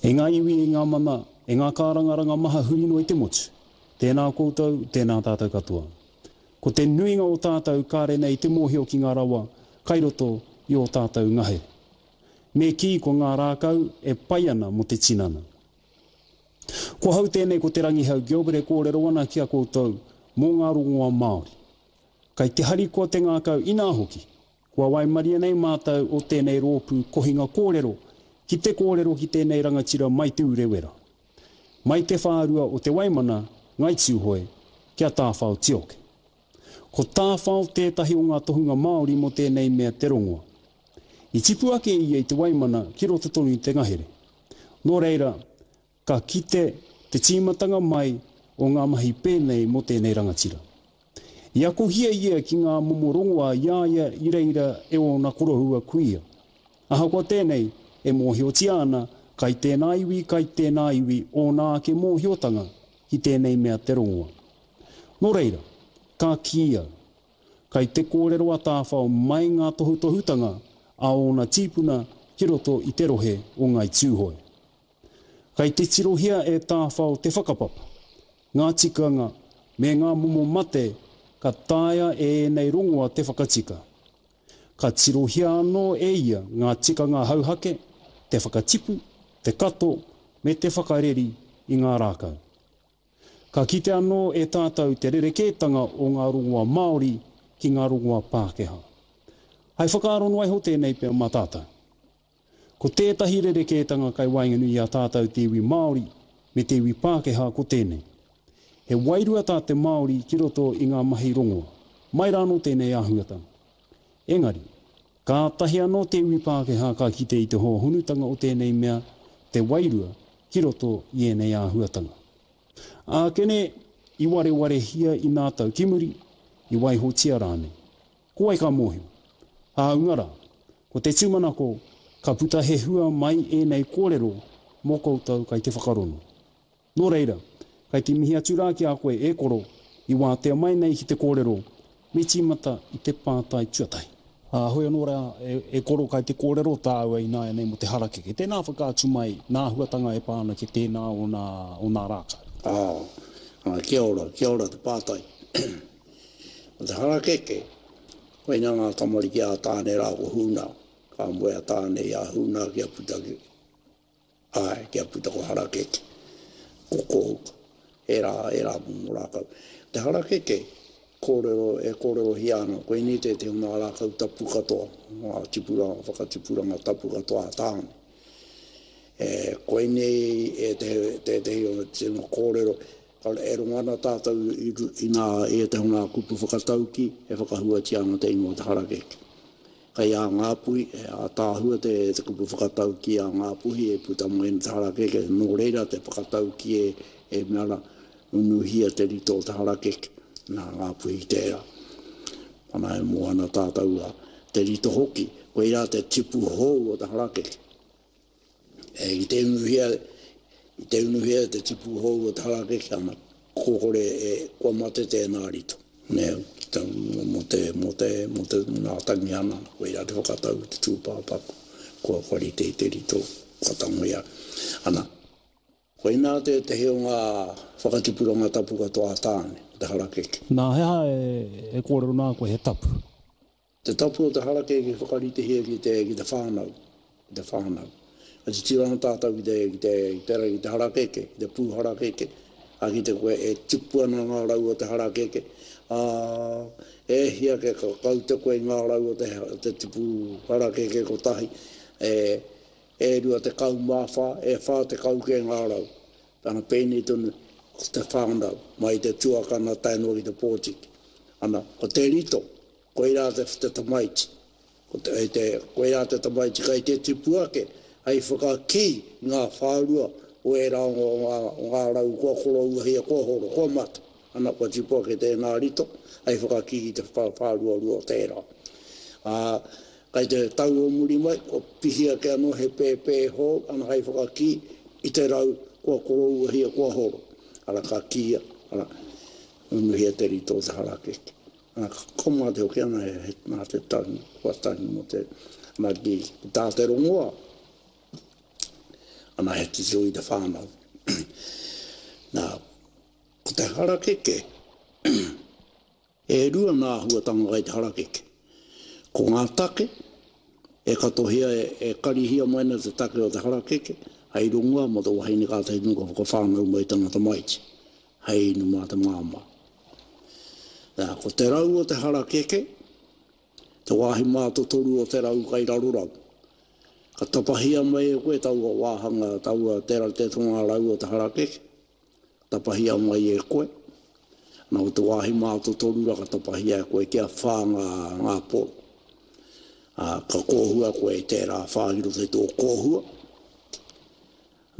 E ngā iwi, e ngā mana, e ngā kārangaranga maha huri noa i te motu, tēnā koutou, tēnā tātou katoa. Ko te nuinga o tātou kāre nei te mōhio ki ngā rawa kai roto i ō tātou ngahere. Me kī ko ngā rākau e pai ana mō te tinana. Ko ahau tēnei ko Te Rangihau Gilbert e kōrero ana ki a koutou mō ngā rongoa Māori. Kai te harikoa te ngākau inā hoki, kua waimarie nei mātou o tēnei rōpū kohinga kōrero ki te kōrero ki tēnei rangatira mai Te Urewera, mai te whārua o Te Waimana, Ngai Tūhoe, ki a Tāwhao Tioke. Ko Tāwhao tētahi o ngā tohunga Māori mō tēnei mea te rongoa. I tipu ake ia i Te Waimana ki roto tonu i te ngahere. Nō reira, ka kite te tīmatanga mai o ngā mahi pēnei mō tēnei rangatira. I akohia ia ki ngā momo rongoa i a ia i reira e ōna koroua kuia. Ahakoa tēnei, e mōhiotia ana kai tēnā iwi, kai tēnā iwi ōna ake mōhiotanga ki tēnei mea te rongoa. Nō reira, ka kī au, kai te kōrero a Tāwhao mai ngā tohutohutanga a ōna tīpuna ki roto i te rohe o Ngāi Tūhoe. Kai te tirohia e Tāwhao te whakapapa, ngā tikanga me ngā momo mate ka taea e ēnei rongoa te whakatika. Ka tirohia anō e ia ngā tikanga hauhake, te whakatipu, te kato me te whakareri i ngā rākau. Ka kite anō e tātou te rerekētanga o ngā rongoa Māori ki ngā rongoa Pākehā. Hai whakaaro noa iho tēnei pea mā tātou. Ko tētahi rerekētanga kai waenganui i a tātou te iwi Māori me te iwi Pākehā ko tēnei. He wairua tā te Māori ki roto i ngā mahi rongoa. Mai rānō tēnei āhuatanga. Engari, kātahi anō te iwi Pākehā ka kite i te hōhonutanga o tēnei mea, te wairua, ki roto i ēnei āhuatanga. Ākene, i warewarehia i nā tau ki muri, i waihotia rānei. Ko wai ka mōhio? Hāunga rā, ko te tūmanako ka puta he hua mai ēnei kōrero mō koutou kai te whakarono. Nō reira, kai te mihi atu rā ki a koe e koro, i wātea mai nei ki te kōrero, me tīmata i te pātai tuatahi. Ā, hoi anō rā, e koro kai te kōrero tāua ināianei mō te harakeke. Tēnā whakaatu mai nā āhuatanga e pā ana ki tēnā o nā, o nā rākau. Ā, ā, kia ora, kia ora te pātai. Ko te harakeke, koinā ngā tamariki a Tāne rā ko Huna, ka moe a Tāne i a Huna kia puta ki, āe, kia puta ko Harakeke, ko Kōhuka, ērā, ērā momo rākau. Te harakeke, kōrero, e kōrerohia ana, koinei tētehi o ngā rākau tapu katoa, ngā tipuranga, whakatipuranga tapu katoa a Tāne. E, koinei ētehi, tētehi o te tino kōrero, E rongo ana tātou i ngā, i ētahi o ngā kupu whakataukī e whakahuatia ana te ingoa o te harakeke. Kei a Ngāpuhi, he ātaahua te, te kupu whakataukī a Ngāpuhi e puta mai ana te harakeke, nō reira te whakataukī e, e mea ana, unuhia te rito o te harakeke, nā Ngāpuhi tērā. Ana e moe ana tātou a te rito hoki, koirā te tipu hou o te harakeke. E, i te unuhia, i te unuhia te tipu hou o te harakeke ana, kua kore e, kua mate tēnā rito. Nē, te, mō te, mō te, mō te, mō ngā tangihana, koirā te whakatau i te tūpāpaku, kua, kua rite i te rito, kua tangoia. Ana, koinā tētehi o ngā whakatipuranga tapu katoa a Tāne, ko te harakeke. Nā, he aha e, e kōrero nā koe he tapu? Te tapu o te harakeke whakaritehia ki te, ki te whānau, ki te whānau. Ka titiro ana tātou ki te, ki te, ki te, ki te harakeke, ki te pū harakeke, ka kite koe e tipu ana ngā rau o te harakeke, ā, e hia ke ka kaute koe i ngā rau o te, te tipu harakeke kotahi, e, e 24, e 40 kē ngā rau. Tana pēnei tonu, ko te whānau, mai i te tuakana tae noa ki te pōtiki. Ana, ko te rito, Koirā te, te tamaiti. Ko te, te, koirā te tamaiti kai te tipu ake hei whakakī i ngā whārua o ērā o ngā, o ngā rau kua korouahia, kua horo, kua mate. Ana, kua tipu ake tēnā rito hei whakakī i te whāruarua o tērā. Ā, kai te tau o muri mai, kua pihi ake anō he pēpē hou, ana hei whakakī i te rau kua korouahia, kua horo. Ara, ka kīia, ara, unuhia te rito o te harakeke. Ana, ka mate hoki ana he, nā te tangi, kua tangi mō te, ana ki, ki tā te rongoa. Ana he titiro i te whānau. Nā, ko te harakeke, e rua ngā āhuatanga kai te harakeke. Ko ngā take, e katohia, e karihia mai ana te take o te harakeke, hei rongoa mō te wahine kātahi tonu ka whakawhānau mai tana tamaiti, hei inu mā te māmā. Nā, ko te rau o te harakeke, Te wāhi mātotoru o te rau kai raro rau. Ka tapahia mai e koe taua wāhanga, taua tera te tonga rau o te harakeke, ka tapahia mai e koe. Ana ko te wāhi mātotoru ra ka tapahia e koe kia whā ngā, ngā poro. Ā, ka kōhua koe i tērā whā ki roto i tō kōhua.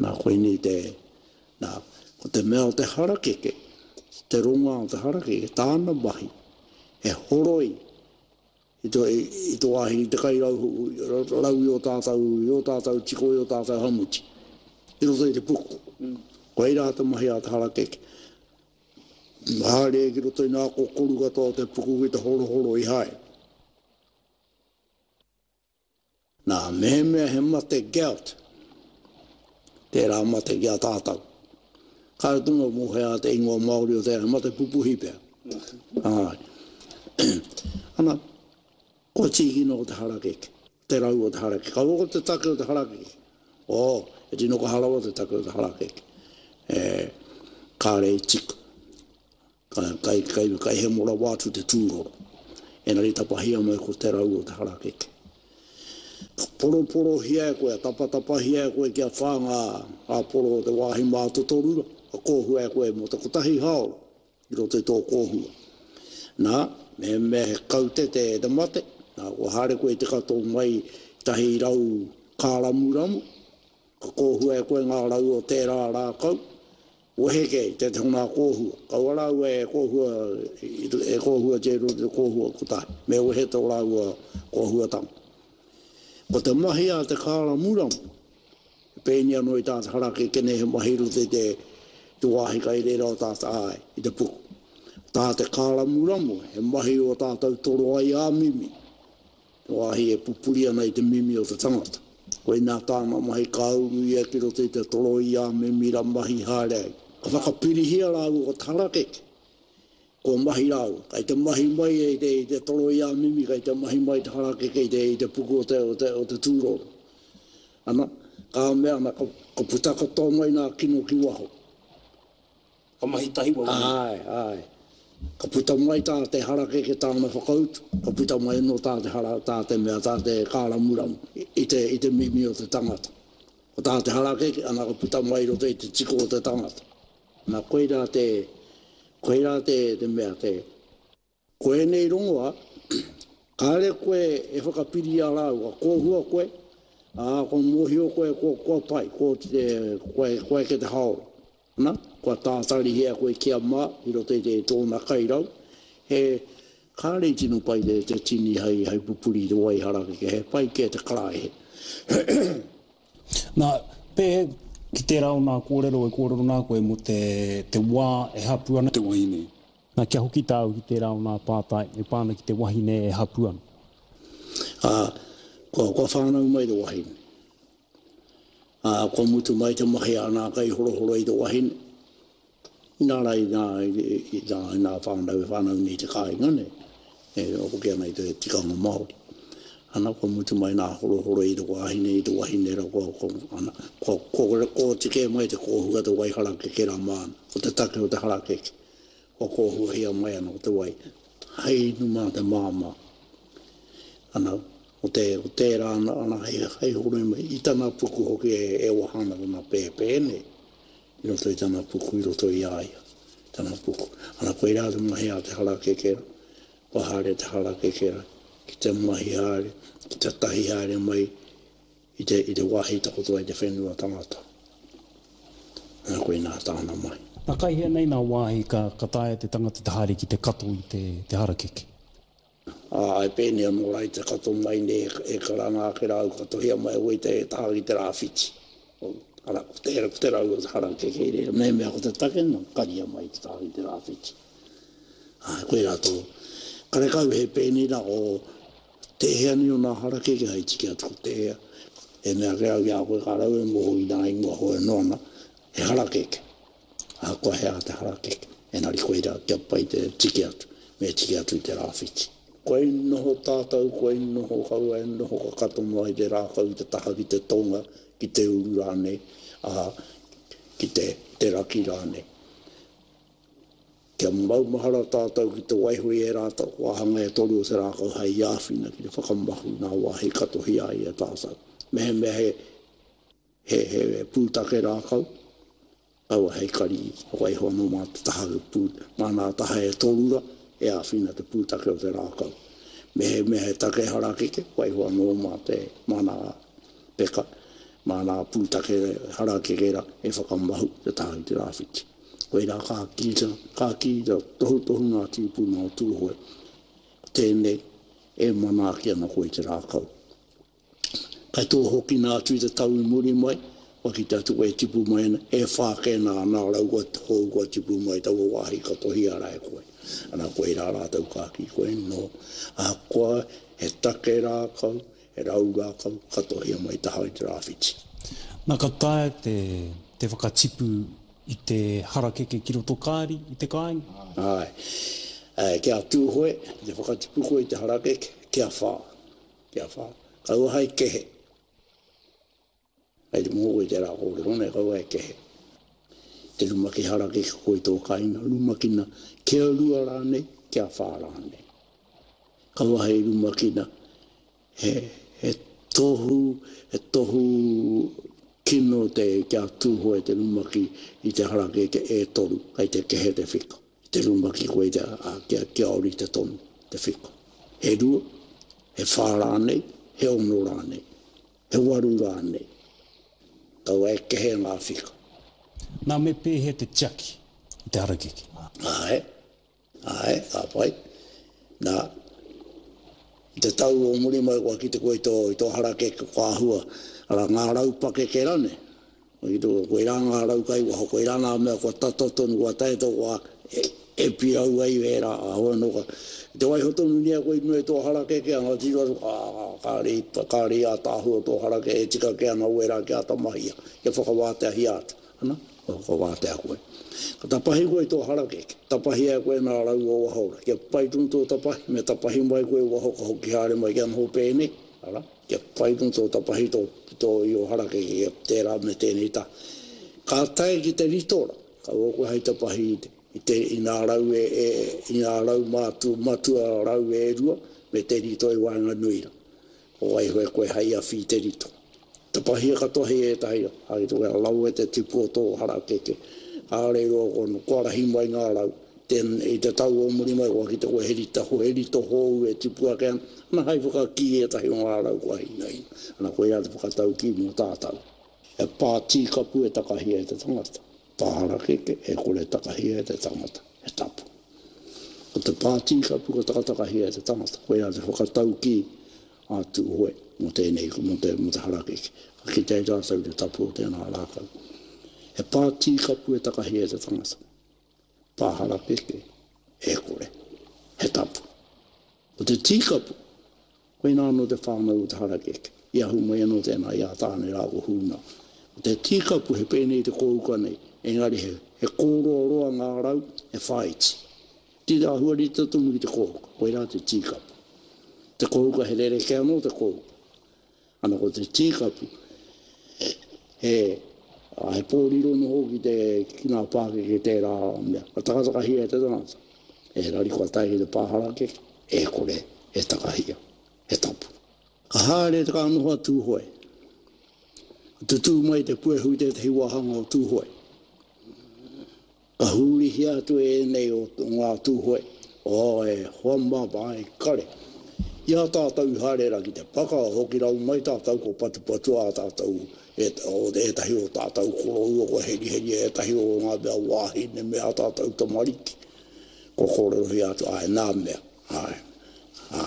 Nā, koinei te, nā, ko te mea o te harakeke, te rongoā o te harakeke, tāna mahi, he horoi i tō, i tō wāhi, i te kai rau, rau i ō tātou, i ō tātou tiko, i ō tātou hamuti, i roto i te puku. Koirā te mahi a te harakeke. Haere ki roto i ngā kokoru katoa o te puku ki te horohoro i haere. Nā, mehemea he mate gout, tērā mate ki a tātou. Kāre tonu mō hea te ingoa Māori o tērā, he mate pupuhi pea. Āe. Ana, kua tīkina o te harakeke, te rau o te harakeke. Kaua ko te take o te harakeke. Oh, e tino kaha rawa te take o te harakeke. E, kāre i tika. Kai, kai, kai hemo rawa atu te tūroro. Engari tapahia mai ko te rau o te harakeke. Ka poroporohia e koe, tapatapahia e koe kia whā ngā, ngā poro o te wāhi mātotoru rā, ka kōhua e koe mō te kotahi hāora i roto i tō kōhua. Nā, mehemea he kaute te, te mate, nā, kua haere koe i te kato mai tahi rau kāramuramu, ka kōhua e koe ngā rau o tērā rākau, Wehe kē i tētehi o ngā kōhua. Kaua rāua e kōhua, e kōhuatia i roto i te kōhua kotahi. Me wehe tō rāua kōhuatanga. Ko te mahi a te kāramuramu, he pēni anō i tā te harakeke nei, he mahi i roto i te, te wāhi kai reira o tā te āe, i te puku. Tā te kāramuramu, he mahi o tātou toroai ā-mimi. Te wāhi e pupuri ana i te mimi o te tangata. Koinā tāna mahi ka uru ia ki roto i te toroi a mimira mahi haere ai. Ka whakapirihia rāua ko te harakeke, kua mahi rāua. Kei te mahi mai i te, i te toroi a mimi, kei te mahi mai te harakeke i te, i te puku o te, o te, o te tūroro. Ana, ka mea ana, ka, ka puta katoa mai ngā kino ki waho. Ka mahi tahi wau nei. Āe, āe. Ka puta mai tā te harakeke tāna whakautu, ka puta mai anō tā te hara, tā te mea, tā te kāramuramu i te, i te mimi o te tangata. Ko tā te harakeke, ana ka puta mai i roto i te tiko o te tangata. Ana koirā te, koirā te, te mea, te. Ko ēnei rongoā, kāre koe e whakapiri i a rāua, ka kōhua koe, ā, kua mōhio koe kua, kua pai, kua oti te, kua, kua eke te haora. Ana, kua tātarihia koe kia mā i roto i te, tōna kairau, he, kāre i tino pai te, te tini hei, hei pupuri i te wai harakeke, he pai kē te karaehe. Nā, pē, ki tērā o nā kōrero e kōrero nā koe mō te, te wā e hapū ana te wahine. Nā, kia hoki tāu ki tērā o nā pātai e pā ana ki te wahine e hapū ana. Ā, kua, kua whānau mai te wahine. Ā, kua mutu mai te mahi a nā kaihorohoro i te wahine. Inā rā, i nā, i, i nā, i nā whānau e whānau nei i te kāinga nei, e hoki ana i te tikanga Māori. Ana, kua mutu mai nā horohoro i te wahine, i te wahine rā, kua, kua, ana, kua, kua, kua oti kē mai te kōhua te wai harakeke rā māna, ko te take o te harakeke. Kua kōhuahia mai ana ko te wai hei inu mā te māmā. Ana, ko te, ko tērā ana, ana hei, hei horoi mai i tana puku hoki e, e waha ana tana pēpē nei, i roto i tana puku, i roto i a ia, tana puku. Ana, koirā te mahi a te harakeke rā, kua haere te harakeke rā, ki te mahi haere, ki te tahi haere mai I te, i te wāhi takoto ai te whenua tangata. Nā, koinā tāna mahi. Nā, kai hea nei nā wāhi ka, ka taea te tangata te haere ki te kato i te, te harakeke? Ā, e pēnei anō rā i te kato mai nei e, e karanga ake rā au, katohia mai au i te taha ki te rāwhiti. Arā, ko te, ko te rau o te harakeke i reira. Mehemea ko te take, nā, karia mai te taha ki te rāwhiti. Ā, koirā tō. Karekau he pēnei rā o, Tēhea nei o nā harakeke hai tiki atu ko tēhea. He mea kē au ki a koe ka rau e moho i nā ingoa hoi anō ana, he harakeke. Ahakoa he aha te harakeke, engari koirā kia pai te tiki atu, me tiki atu i te rāwhiti. Koi noho tātou, koi noho kaua e noho ka kato noa i te rākau i te taha ki te tonga, ki te uru rānei, ā, ki te, te raki rānei. Kia maumahara tātou ki te waiho i ērā wāhanga e toru o te rākau hei āwhina ki te whakamahu i ngā wāhi katohia ai e tātou. Mehemea he, he, he pūtake rākau, kaua hei kari, waiho anō mā te taha pū, mā ngā taha e toru rā e āwhina te pūtake o te rākau. Mehemea he take harakeke, waiho anō mā te, mā ngā peka, mā ngā pūtake harakeke rā e whakamahu te taha ki te rāwhiti. Koirā ka kī, ka kī tohutohu ngā tīpuna o Tūhoe, ko tēnei e manaaki ana koe i te rākau. Kai tō hokina atu i te tau i muri mai, kua kite atu koe e tipu mai ana, e whā kē nā nā rau kua hou kua tipu mai taua wāhi ka tohia rā e koe. Ana koirā rātou ka kī koe, nō, ahakoa he take rākau, He rau rākau ka tohia mai taha i te rāwhiti. Na ka taea te te whakatipu i te harakeke ki roto kāri i te kāinga? Āe. Kia Tūhoe, ki te whakatipu koe i te harakeke, kia whā. Kia whā. Kaua hai kehe. Kei te moho koe i tērā kōrero nei, kaua e kehe. Te rumaki harakeke koe i tō kāinga, rumakina kia rua rānei, kia whā rānei. Kaua hei rumakina, he, he tohu, he tohu kino te kia tūhoe te rumaki i te harakeke e toru, kei te kehe te whika. Te rumaki koe i te, ā, kia, kia ōrite tonu te whika. He rua, he whā rānei, he ono rānei. He waru rānei. Kaua e kehe ngā whika. Nā, me pēhea te tiaki i te harakeke? Āe, āe, ka pai. Nā, i te tau o muri mai kua kite koe i tō, i tō harakeke kua āhua, arā, ngā rau pakeke rānei. Koirā ngā rau kai waho, koirā ngā mea kua tata tonu, kua tae tō wā e pirau ai ērā āhua anō ka. I te waiho tonu nei a koe i runga i tō harakeke, anga tiro atu, ā, kāre i, kāre i ātaahua tō harakeke, e tika kē ana wērā kia āta mahia, kia whakawāteahia atu. Ana, kua whakawātea koe. Ka tapahi koe i tō harakeke, tapahia e koe ngā rau o waho rā, kia pai tonu tō tapahi, me tapahi mai koe i waho ka hoki haere mai kia noho pēnei, arā. Kia pai tonu tō tapahi tō tō i ō harakeke ki tērā me tēnei taha. Ka tae ki te ritora, kaua koe hei tapahi i te, i te, i ngā rau e, e, i ngā rau mātu, matua rau e rua me te rito i waenganui rā. Ko waiho e koe hei awhi i te rito. Tapahia katoa hei ētahi rā, hai te wea lawe te tipu o tō harakeke. Kāore i roa kua, kua rahi mai ngā rau. Ten, i te tau o muri mai kua kite koe he rita, he rito hou e tipu ake ana, ana hai whakakī ētahi o ngā rau kua hinaina. Ana koirā te whakataukī mō tātau. He pā tīkapu e takahia e te tangata, pā harakeke e kore e takahia e te tangata, he tapu. Ko te pā tīkapu ka takatakahia e te tangata, koirā te whakataukī a Tūhoe mō tēnei, mō te, mō te harakeke. Ka kite ai tātau i te tapu o tēnā rākau. He pā tīkapu e takahia e te tangata. Pā harakeke, e kore. He tapu. Ko te tīkapu, koinā anō te whānau o te harakeke. I ahu mai anō tēnā i a Tāne rā ko Hūna. Ko te tīkapu he pēnei te kōuka nei, engari he, he kōroaroa ngā rau, he whāiti. Te āhua rite tonu ki te kōuka, koirā te tīkapu. Te kōuka he rerekē anō te kōuka. Ana ko te tīkapu, he, he pōriro noho ki te, ki ngā pākeke tērā mea. Ka takatakahia e te tangata, engari kua tae ki te pā harakeke, e kore e takahia, he tapu. Ka haere te ka noho a Tūhoe. Ka tutū mai te puehu i tētahi wāhanga o Tūhoe. Ka hurihia atu e ēnei o ngā Tūhoe, oh, e hoa mā, e kare. I a tātou i haere ra ki te paka, hoki rau mai tātou ko patupatua a tātou, e, o ētahi o tātou koroua kua heriheria ētahi o ngā mea wāhine me ā tātou tamariki. Kua kōrerohia atu, āe, nā mea, āe, ā,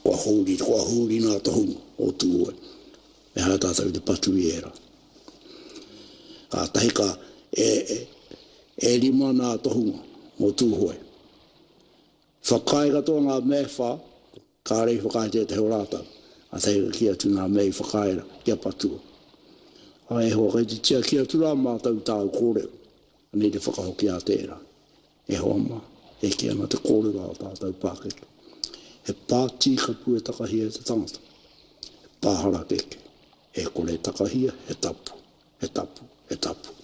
kua huri, kua huri ngā tohunga o Tūhoe. Me haere tātou ki te patu i ērā. Kātahi ka, e, e, e rima nā tohunga mō Tūhoe. Whakaae katoa ngā mea e whā, kāre i whakaae tētahi o rātou. Ātahi ka kī atu ngā mea i whakaae rā, kia patua. Ā, e hoa, kei te tiaki atu rā mātou i tāu kōrero. Anei te whakahoki a tērā. E hoa mā, e kī ana te kōrero a ō tātou pākeke, he pā tīkapu e takahia e te tangata, he pā harakeke, e kore e takahia, he tapu, he tapu, he tapu.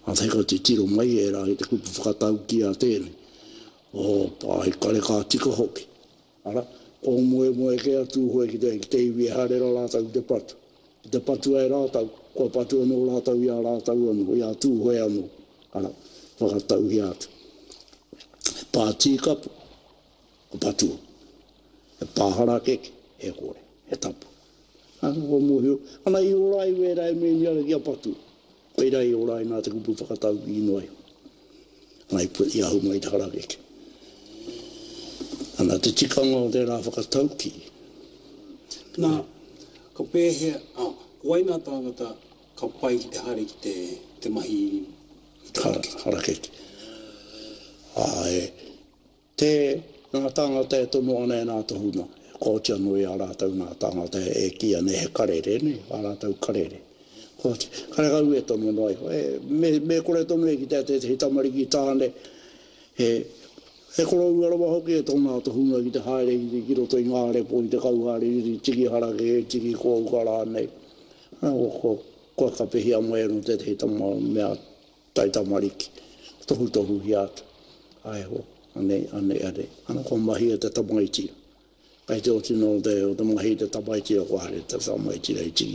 Ātahi ka titiro mai ērā ki te kupu whakataukī a tēnei, Oh, pāhikare ka tika hoki. Ara, kua moemoe kē a Tūhoe ki te, ki te iwi e haere rā rātou ki te patu. Ki te patua e rātou, kua patu anō rātou i a rātou anō, i a Tūhoe anō. Ara, whakatauhia atu. He pā tīkapu, ka patua. He pā harakeke, e kore, he tapu. Ana, kua mōhio, ana i ora ai wērā e meni ana kia patua. Koirā i ora ai nā te kupu whakataukī noa iho. Ana i i ahu mai te harakeke. Ana te tikanga o tērā whakataukī. Nā, ka pēhea, ā, ko wai ngā tāngata ka pai ki te haere ki te, te mahi i te harakeke? Harakeke. Āe, Te, ngā tāngata e tono ana e nā tohunga, e kooti anō i a rātou ngā tāngata e kīia nei he karere, nē, ā rātou karere. Kooti, karekau e tono noa iho, e, me, me kore tonu e kitea tētehi tamariki tāne, he, he koroua rawa hoki e tōna tohunga ki te haere ki, ki roto i ngā repo, ki te kauhaere, ki te tiki harakeke, tiki kōuka rānei. Ana, kua, kua kapehia mai anō tētehi tama mea Taitamariki, tohutohuhia atu, Ae ho, anei, anei, anei. Ana kua mahia te tamaiti. Kei te oti noa o te, o te mahi i te tamaiti, kua haere te tamaiti rei tiki.